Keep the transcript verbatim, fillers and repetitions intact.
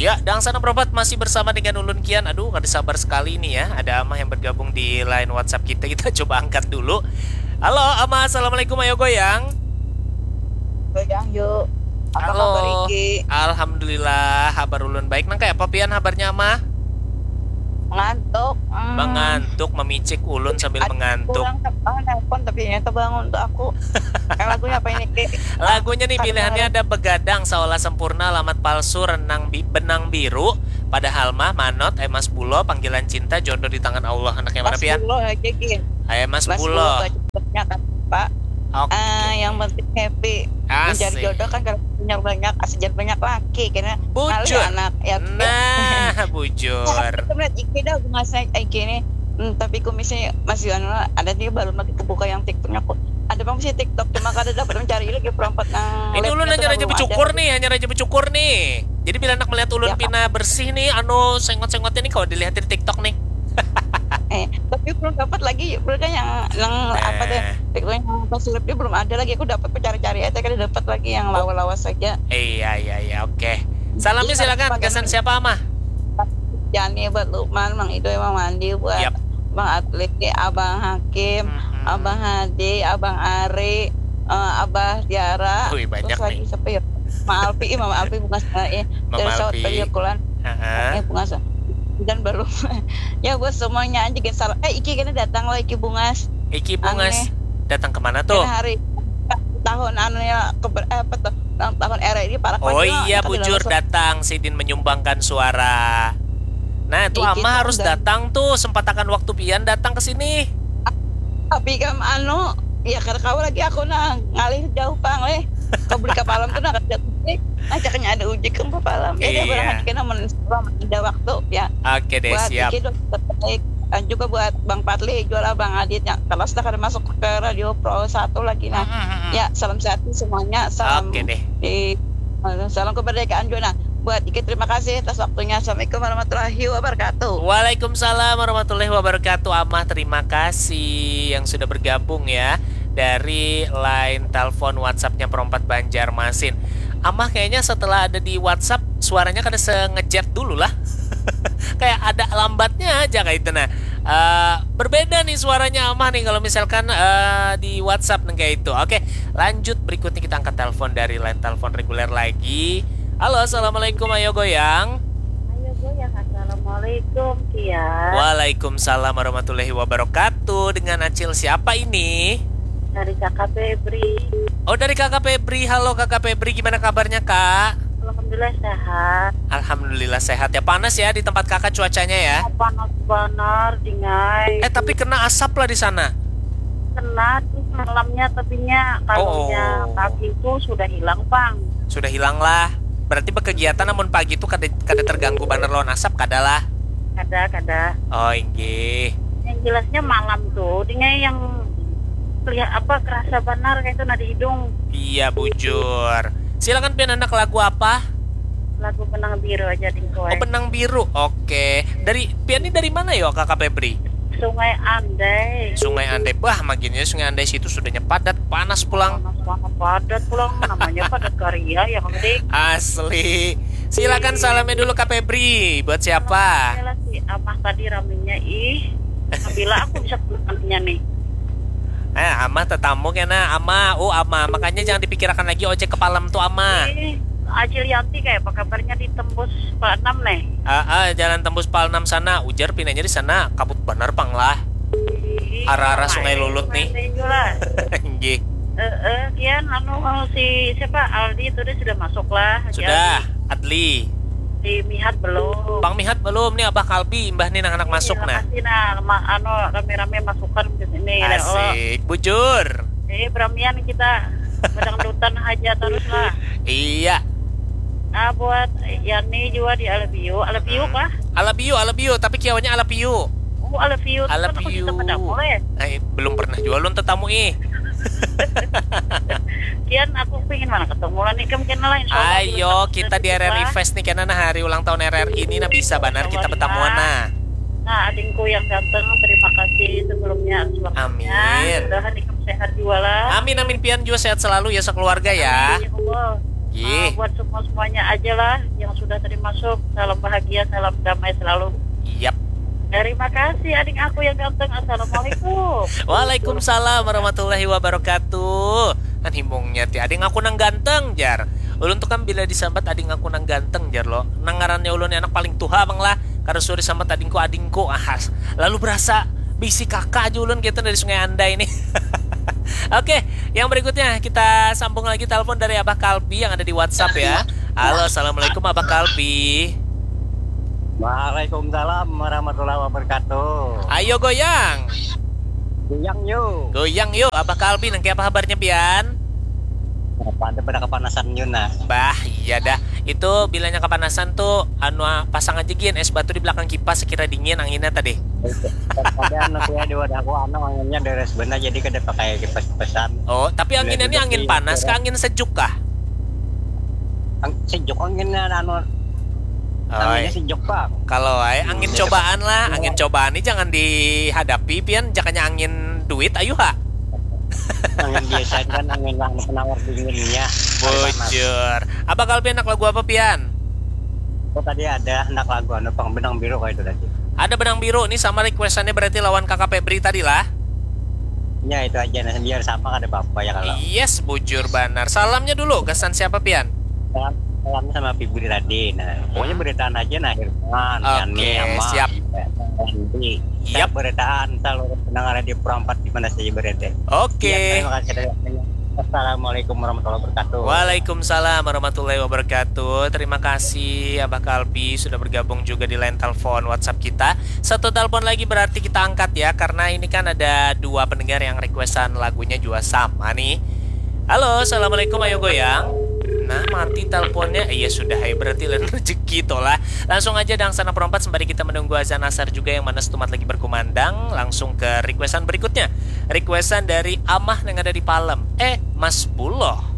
Ya, Dang Sana Propat masih bersama dengan Ulun Kian. Aduh, kada sabar sekali ini ya. Ada Amah yang bergabung di line WhatsApp kita. Kita coba angkat dulu. Halo, Amah. Assalamualaikum. Ayo goyang. Goyang yuk. Apa Halo. Kabar Iki? Alhamdulillah, habar ulun baik. Nang kayak apa pian habarnya, Amah? Mengantuk. Hmm. Mengantuk, memicik ulun sambil Ad mengantuk. Kurang, oh, nelpon tapi ternyata bangun tuh aku. Kan lagunya apa ini, Ki? Lagunya nih pilihannya ada Begadang, Seolah Sempurna, Alamat Palsu, Renang Bi Benang Biru, Padahal Mah, Manot, Emas Bulo, Panggilan Cinta, Jodoh di Tangan Allah. Anaknya mana pian? Bulo aja, Ki. Emas Bulo. Bulo banyak kan, Pak. Oke. Okay. Uh, yang penting happy. Asik. Mencari jodoh kan kalau punya banyak, asik banyak laki, kena bujur anak ya. Nah, bujur. Kita melihat Iki dah bunga saya Iki ini. Hmm, tapi kumisnya masih anu ada dia belum lagi kebuka yang TikToknya kok. Ada bang sih TikTok cuma kada dapat mencari lagi perompat nang. Ini ulun hanya raja bersyukur nih, hanya raja bersyukur nih. Jadi bila anak melihat ulun ya, pina bersih nih, anu sengot-sengot ini kalau dilihat di TikTok nih. Eh, tapi belum dapat lagi, belum kan yang yang eh. Apa deh? TikTok yang pas dia belum ada lagi. Aku dapat mencari-cari aja kada dapat lagi yang lawas-lawas saja. Iya, iya, iya, oke. Okay. Salamnya silakan, kesan siapa, Amah? Yani buat Lukman, Mang Ido, Mang Mandi, buat yep. Bang Atli, Abang Hakim, mm-hmm. Abang Hadi, Abang Ari, uh, Abah Tiara. Wih, banyak terus nih. Lagi siapa ya? Mang Alpi, Mang Alpi bungas eh. Mang Alpi. Kulan. Uh-huh. Eh, bungas. Dan belum. Ya buat semuanya aja gitu. Eh, Iki kena datang loh, Iki bungas. Iki bungas. Aneh. Datang kemana tuh? Kena hari tahun anu ya ke eh, apa tuh? Tahun R I ini para. Oh iya, bujur datang sidin menyumbangkan suara. Nah, itu Ama harus datang tuh, sempatakan waktu pian datang ke sini. Tapi kan anu, ya kada kawa lagi aku nah ngalih jauh pang leh. Kau beli kapalam tuh nah kerja ujik, ajaknya ada ujik kan kapalam. Ya iya. Barang aja kena ada waktu ya. Oke deh, buat siap. Iki terbaik. Dan juga buat Bang Patli, jual Bang Adit yang kalau sudah kada masuk ke Radio Pro satu lagi nah. Mm-hmm. Ya, salam sehat semuanya. Salam Oke deh. Di Salam kemerdekaan juga. Nah, buat Iki terima kasih atas waktunya. Assalamualaikum warahmatullahi wabarakatuh. Waalaikumsalam warahmatullahi wabarakatuh. Amah terima kasih yang sudah bergabung ya dari line telepon WhatsAppnya Perompat Banjarmasin. Amah kayaknya setelah ada di WhatsApp suaranya kada sengejet dulu lah. Kayak ada lambatnya aja kayak itu nah. Uh, berbeda nih suaranya Amah nih kalau misalkan uh, di WhatsApp nih kayak itu. Oke, lanjut berikutnya kita angkat telepon dari line telepon reguler lagi. Halo, assalamualaikum. Ayo goyang. Ayo goyang. Assalamualaikum, Kian. Waalaikumsalam warahmatullahi wabarakatuh. Dengan Acil siapa ini? Dari Kakak Febri. Oh, dari Kakak Febri. Halo Kakak Febri, gimana kabarnya, Kak? Alhamdulillah sehat. Alhamdulillah sehat ya. Panas ya di tempat Kakak cuacanya ya? Oh, panas benar, dingai. Eh, tapi kena asap lah di sana. Kena tuh malamnya tapinya kalau oh. Pagi itu sudah hilang pang. Sudah hilang lah. Berarti berkegiatan namun pagi itu kada kada terganggu banar lawan asap kada lah. Kada kada. Oh inggih. Yang jelasnya malam tuh, dengan yang lihat apa kerasa benar kayak itu nah di hidung. Iya bujur. Silakan pian anak lagu apa? Lagu benang biru aja dingko. Oh benang biru. Oke. Dari pian ini dari mana yo Kakak Febri? Sungai Andai. Sungai Andai. Bah, maginnya Sungai Andai situ sudahnya padat, panas pulang. Panas banget, padat pulang. Namanya padat karya ya, Kang Dik. Asli. Silakan salamnya dulu Kak Febri. Buat siapa? Salam si Amah tadi ramenya ih. Bila aku bisa pulang nih. Eh, Amah tetamu kena Amah. Oh, Amah. Makanya jangan dipikirakan lagi ojek ke Palem tuh Amah. Ih, Acil Yanti kayak apa kabarnya di tembus Pak Enam nih? Ah, ah, jalan tembus Pal enam sana, ujar pinanya di sana kabut bener pang lah. Arah-arah Sungai Lulut nih. Nggih. Eh, eh, kian anu si siapa Aldi itu dia sudah masuk lah. Sudah, Adli. Si Mihat belum. Bang Mihat belum nih Abah Kalbi imbah nih nang anak masuk nah. Makasih nah, anu rame-rame masukan ke sini. Asik, bujur. Eh, beramian kita bedangdutan aja terus lah. Iya. Ah, buat Yani juga di Alabio. Alabio kah? Alabio, Alabio, tapi kiawanya Alabio. Oh, Alabio. Alabio. Kan aku juga pernah boleh. Eh, belum pernah juga lun tetamu ih. Kian aku pengen mana ketemu lah nih kemungkinan lain. Ayo kita di R R I Fest nih karena nah hari ulang tahun R R I ini nah bisa benar kita bertamuan nah. Nah, adingku yang ganteng, terima kasih sebelumnya atas waktunya. Amin. Mudahan ikam sehat juga lah. Amin amin pian juga sehat selalu ya sekeluarga ya. Amin, ya Allah. Iya. Uh, buat semua semuanya aja lah yang sudah tadi masuk. Salam bahagia, salam damai selalu. Yap. Terima kasih ading aku yang ganteng. Assalamualaikum. Waalaikumsalam warahmatullahi wabarakatuh. Kan himungnya ti ading aku nang ganteng jar. Ulun tuh kan bila disambat ading aku nang ganteng jar lo. Nang ngarannya ulun anak paling tuha bang lah. Karena sudah disambat adingku adingku ahas. Lalu berasa bisi kakak aja ulun gitu dari Sungai Andai ini. Oke, yang berikutnya kita sambung lagi telepon dari Abah Kalbi yang ada di WhatsApp ya. Halo, assalamualaikum Abah Kalbi. Waalaikumsalam warahmatullahi wabarakatuh. Ayo goyang. Goyang yuk. Goyang yuk, Abah Kalbi, nang apa kabarnya pian? Apa ada pada kepanasan yuk nah. Bah, iya dah. Itu bilanya kepanasan tuh anu pasang aja gin es batu di belakang kipas sekira dingin anginnya tadi. Ada anu sih di wadahku anu anginnya deres benar jadi kada pakai kipas-kipasan. Oh, tapi anginnya ini angin panas kah angin sejuk kah? Ang- sejuk anginnya anu Oi, anginnya sejuk bang. Kalau ai angin cobaan lah, angin cobaan ini jangan dihadapi pian, jakanya angin duit ayu ha. Angin biasa kan angin lah penawar dinginnya. Bujur. Abah Kalbi anak lagu apa pian? Oh tadi ada anak lagu anu pang benang biru kayak itu tadi. Ada benang biru nih sama requestannya berarti lawan kakak Febri tadi lah. Ya itu aja nah biar sama kada apa-apa ya kalau. Yes, bujur banar. Salamnya dulu, gasan siapa pian? Salam, salam sama Febri tadi. Nah, pokoknya beritaan aja nah Irfan, Oke, Yani, Ama, siap. Andi. Yap. Beritaan seluruh pendengar di Pro empat di mana saja berada. Oke. Ya, terima kasih. Assalamualaikum warahmatullahi wabarakatuh. Waalaikumsalam warahmatullahi wabarakatuh. Terima kasih Abah Kalbi sudah bergabung juga di line telepon WhatsApp kita. Satu telepon lagi berarti kita angkat ya, karena ini kan ada dua pendengar yang requestan lagunya juga sama nih. Halo, assalamualaikum, ayo goyang. Nah, mati teleponnya. Iya sudah, ayo berarti lain rezeki toh lah. Langsung aja dangsana perompat sembari kita menunggu azan asar juga yang mana setumat lagi berkumandang. Langsung ke requestan berikutnya. Requestan dari Amah yang ada di Palem. Eh, Mas Buloh.